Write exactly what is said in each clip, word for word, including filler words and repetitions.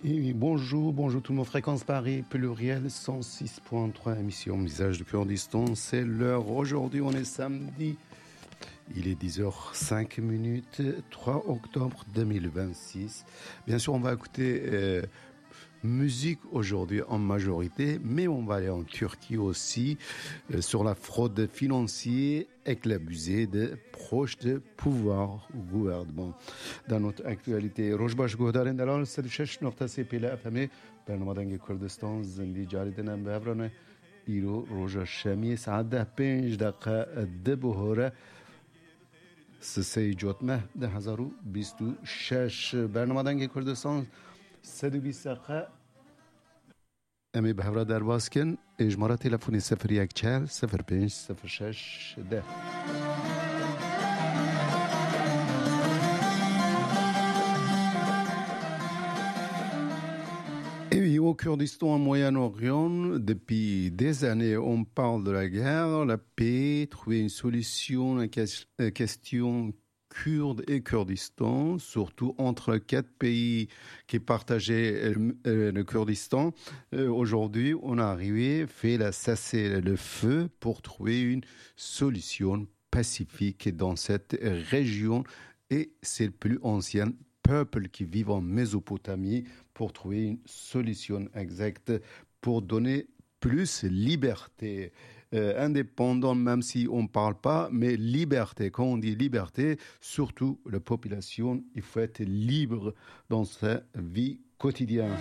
Et oui, bonjour, bonjour tout le monde. Fréquence Paris, pluriel, cent six point trois, émission Visage du Kurdistan. C'est l'heure. Aujourd'hui, on est samedi. Il est dix heures cinq minutes, trois octobre deux mille vingt-six. Bien sûr, on va écouter euh, musique aujourd'hui en majorité, mais on va aller en Turquie aussi, euh, sur la fraude financière avec l'abusé de proches de pouvoir au gouvernement. Dans notre actualité, Roj baş guhdarên delal, sed û şeş nokta sê pêle F M ê, bernama Dengê Kurdistan, zindî carî din em bi hev re ne. Îro roja şemiyê saet deh pênc deqe di bihore, sisey Cotmeh du hezar û bîst û şeş. Bernama Dengê Kurdistan, sed û bîst deqe. Em ê bi hev re derbas kin. Êjmara telefonê sifir yek çar sifir pênc sifir şeş deh. Et oui, au Kurdistan, au Moyen-Orient, depuis des années, on parle de la guerre, la paix, trouver une solution, la ques- euh, question kurde et Kurdistan, surtout entre quatre pays qui partageaient euh, euh, le Kurdistan. Euh, aujourd'hui, on a arrivé, fait la cessez-le-feu pour trouver une solution pacifique dans cette région. Et c'est le plus ancien peuple qui vit en Mésopotamie pour trouver une solution exacte, pour donner plus liberté. Euh, indépendant, même si on ne parle pas, mais liberté, quand on dit liberté, surtout la population, il faut être libre dans sa vie quotidienne.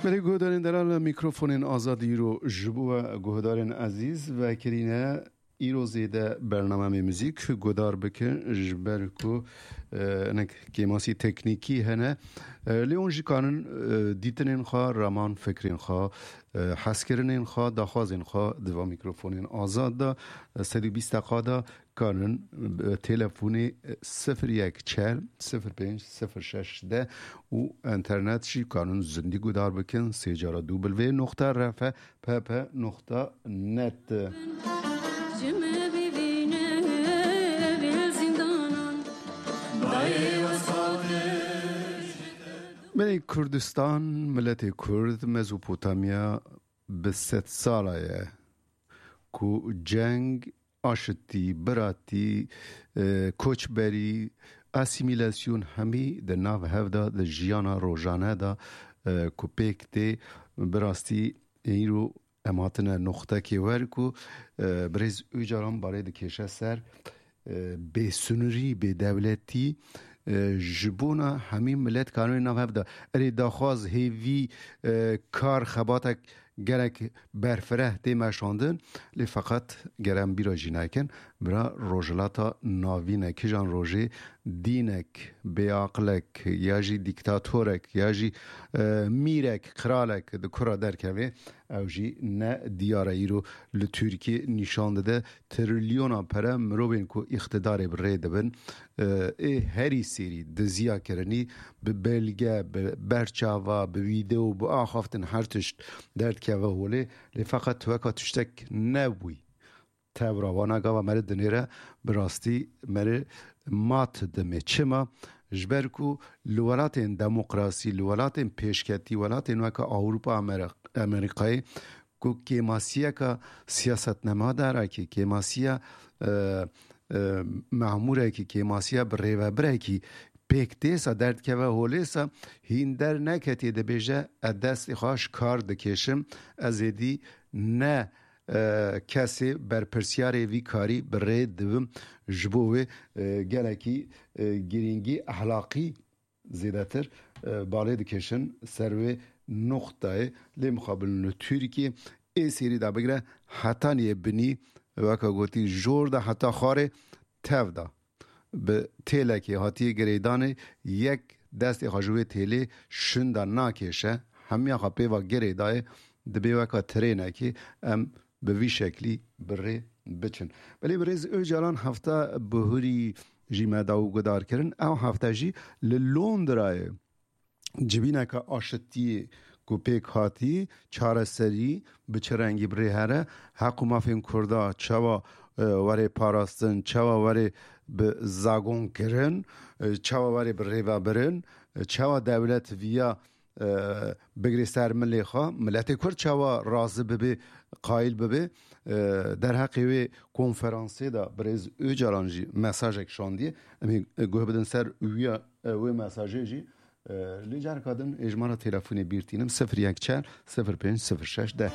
Belê guhdarên delal, mikrofonên azad îro ji bo we guhdarên ezîz vekirîne. Îro zêde bernameyê muzîk guhdar bikin, ji ber ku e, hinek kêmasî teknîkî hene. E, lê hûn jî kanin e, dîtinên xwe, raman fikrên xwe, e, hezkirinên xwe, daxwazên xwe di va mîkrofonên azad de, e, sed û bîst deqa de kanin e, telefonê e, sifir yek çar sifir pênc sifir şeş de û internet jî kanin zindî guhdar bikin, sê cara du bilvê noqta R F P P noqta net. Belê Kurdistan, miletê Kurd, Mezopotamya bi sed sala ye ku ceng, aşitî, biratî, e, koçberî, asîmîlasyon hemî di nav hev de, di jiyana rojane de e, ku pêk tê, bi rastî îro em hatine noqtekê wer ku e, birêz Ocalan balê dikêşe ser e, bêsinurî, bêdewletî e, ji bona hemî milet kanûnê nav hev de. Erê daxwaz, hêvî, e, kar, xebatek gelek berfireh tê meşandin, lê feqet ger em bîra jî nekin, bira Rojhilata Navîn e, kijan rojê dînek, bêaqilek ya jî dîktatorek ya jî e, mîrek, qiralek di kura derkeve, ew jî ne diyar e. Îro li Tirkiyê nîşan dide trilyona pere mirovên ku îqtidarê bi rê dibin, e, ê herî sêrî diziya kirinî bi belge, bi berçava, bi wîdeo, bi axaftin her tişt derdikeve holê. Lê feqet weka tiştek nebûyî. Tevra wana gava meri dinêre bi rastî meri mat dimê. Çima? Ji ber ku li welatên demokrasî, li welatên pêşketî, welatên weke Ewropa, Amer-, Amerîkayê, ku kêmasiyeka siyasetnemadarekî, kêmasiya, e, e, memûrekî, kêmasiya birêvebirekî pêk tê sa derdikeve holê sa hîn derneketê dibêje, ez destê xwe ji kar dikêşim, ez êdî ne e, kesê berpirsiyarê vî karî bi rê dibim. Ji bo wê e, gelekî e, girîngî ehlaqî zêdetir e, balê dikêşin ser wê nuqtayê. Lê mixabin li Tirkiyê ê sêrî de bigire hetaniyê binî, weka gotî, jor de heta xwarê tev de. Bi têlekê hatiye girêdanê, yek destê xwe ji wê têlê şinda nakêşe, hemiya xwe pê ve girêdayê, dibê weka trênekê em bi vî şeklî bi rê biçin. Belê birêz Ocalan hefta bihurî jî me da û guhdar kirin. Ew hefte jî li Londrayê civîneke aşitiyê ku pêk hatî, çareserî bi çi rengî bi rê here, heq û mafên Kurda çawa, e, were parastin, çawa were bi zagon kirin, e, çawa were bi rêve birin, e, çawa dewlet viya, e, bigirê ser milê xwe, miletê Kurd çawa razî bibe, qayîl bibe, e, derheqê wê konferansê de birêz Ocalan jî mesajek şandiye. Em ê guh bidin ser wîya, e, wê mesajê jî. E, lê careka din ê ji me re telefonê bîr tînim, sifir yek çar sifir pênc sifir şeş deh.